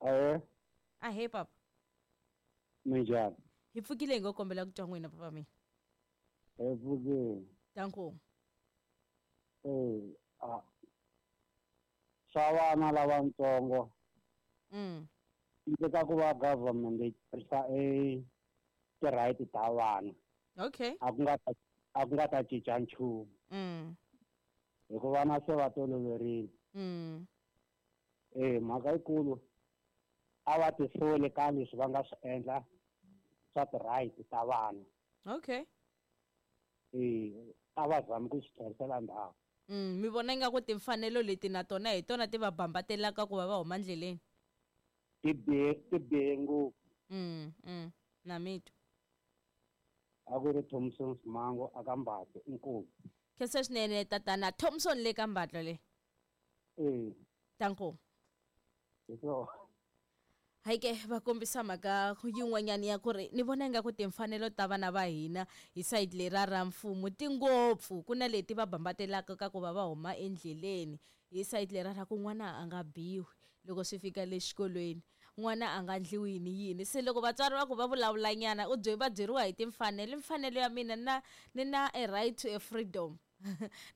Ahee. Ahee papa. Minjhani? Hi pfukile hi ngo kombela ku twa n'wina papa mina. Hi pfukile. Danko. Eh, a swa vana lavatsongo. Ndzi ka ku va government yi tirhisa e ti-right ta vana. Okay. A ku nga ta cinca nchumu. Hikuva na se va toloverile. Eh, mhaka yikulu a va tisoli ka leswi va nga swi endla swa ti-right ta vana. Okay. Eh, a va zami ku swi tlherisela ndzhaku. Mi vona ingaku timfanelo leti na tona hi tona ti va bambatelaka ku va va huma ndleleni? Ti bihe ngopfu. Na mi twa. A ku ri Thompson Simango aka Mbatlo, inkomu. Khensa swinene tatana Thompson le ka Mbatlo le. Eh. Danko. Hi swona. Hayi ke va kombisa mhaka yin'wanyana ya ku ri ni vona ingaku timfanelo ta vana va hina hi sayiti leriya ra mfumo ti ngopfu ku na leti va bambatelaka ka ku va va huma endleleni hi sayiti leriya ra ku n'wana a nga biwi loko swi fika le xikolweni n'wana a nga ndliwi yini yini se loko vatswari va ku va vulavulanyana u va byeriwa hi timfanelo i mfanelo ya mina na ni na a right to a freedom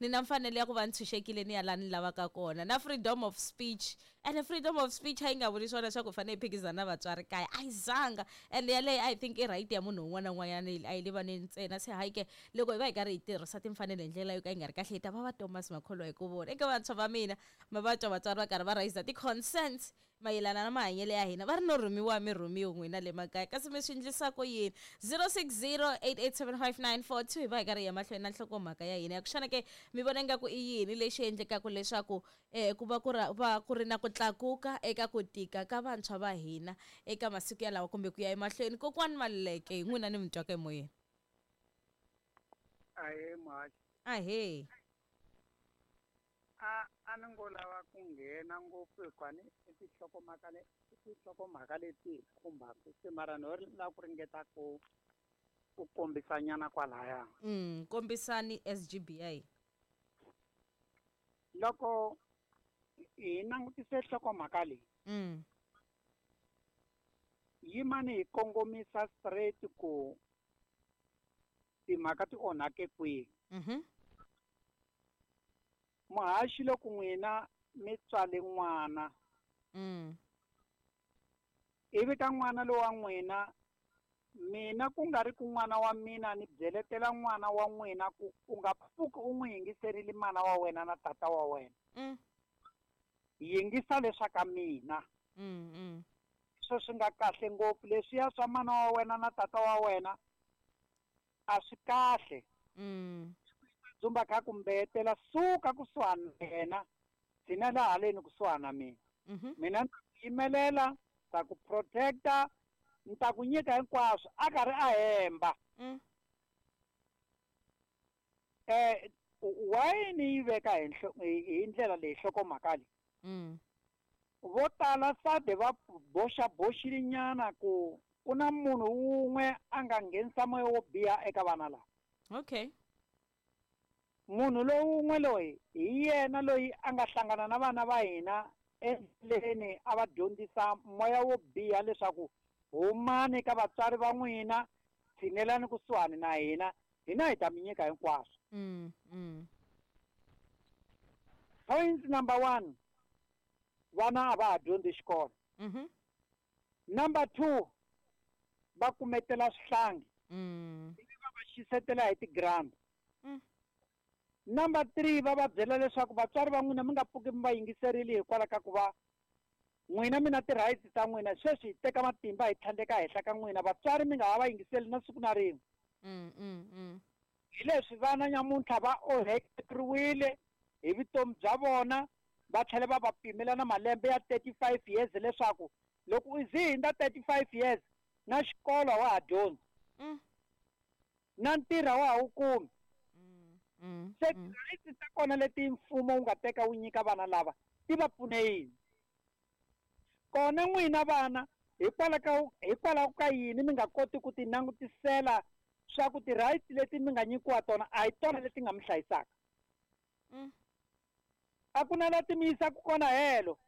ni na mfanelo ya ku va ni tshunxekile ni ya laha ni lavaka kona na freedom of speech ene freedom of speech a yi nga vuli swona leswaku hi fanele hi phikizana na vatswari kaya a yi zanga ende yaleyo I think i right ya munhu un'wana na un'wanyana a yi le vaneni ntsena se hayi ke loko hi va hi karhi hi tirhisa timfanelo hi ndlela yo ka yi nga ri kahle hi ta va va Thomas Makholwa hi ku vona eka vantshwa va mina ma va twa vatswari va karhi va raise ti-concerns mayelana na mahanyelo ya hina va ri no rhumiwa mi rhumiwi n'wina le makaya kasi mi swi endlisa ku yini 0608875942 hi va hi karhi hi ya mahlweni na nhlokomhaka ya hina ya ku xana ke mi vona ingaku i yini lexi endlekaka leswaku um ku va ku va ku ri na ku tlakuka eka ku tika ka vantshwa va hina eka masiku yalawa kumbe ku ya emahlweni kokwani Maluleke hi n'wina ni mi twaka emoyeni. Ahee muhaxi. Ahee. A a ni ngo lava ku nghena ngopfu hikuva ni i tinhlokomhaka le i tinhlokomhaka leti hi khumbaka se mara no lava ku ringeta ku ku kombisanyana kwalaya. Kombisani SGB ya hina. Loko hi langutise nhlokomhaka leyi yimani hi kongomisa straight ku timhaka ti onhake kwihi. Muhaxi loko n'wina mi tswale n'wana ivi ka n'wana lowa n'wina mina ku nga ri ku n'wana wa mina ni byeletela n'wana wa n'wina ku u nga pfuki u n'wi yingiserile mana wa wena na tata wa wena. Yingisa leswa ka mina. Swo swi nga kahle ngopfu leswiya swa mana wa wena na tata wa wena a swi kahle. Dzumba kha ku mbetela suka kusuhani na yena tshinela haleni kusuhani na mina. Mina ni ta ku yimelela, ta ku protecta, ni ta ku nyika hinkwaswo a karhi a hemba. Why ni yi veka hi ndlela leyi nhlokomhaka leyi? Vo tala sade va boxa boxile nyana ku ku na munhu wun'we a nga nghenisa moya wo biha eka vana lava. Okay. Munhu lowun'we loyi hi yena loyi a nga hlangana na vana va hina endleleni a va dyondzisa moya wo biha leswaku humani ka vatswari va n'wina tshinelani kusuhani na hina hina hi ta mi nyika hinkwaswo. Point number 1, vana a va ha dyondzi xikolo. Number 2, va kumetela swihlangi. Ivi va va xisetela hi ti-grant. Number 3, va va byela leswaku vatswari va n'wina mi nga pfuki mi va yingiserile hikwalaho ka ku va n'wina mi na ti-rights ta n'wina sweswi hi teka matimba hi tlhandleka henhla ka n'wina vatswari mi nga ha va yingiseli na siku na rin'we. Hi leswi vana nyamuntlha va onhekeriwile hi vutomi bya vona va tlhela va va pimela na malembe ya 35 years leswaku loko u ze hindza 35 years na xikolo wa ha dyondzi. Na ntirho wa ha wu kumi. Se rights ta kona leti mfumo wu nga teka wu nyika vana lava ti va pfune yini? Kona n'wina vana hikwalaho ka yini mi nga koti ku ti langutisela swa ku ti-rights leti mi nga nyikiwa tona a hi tona leti nga mi hlayisaka? A ku na la ti mi yisaka kona helo.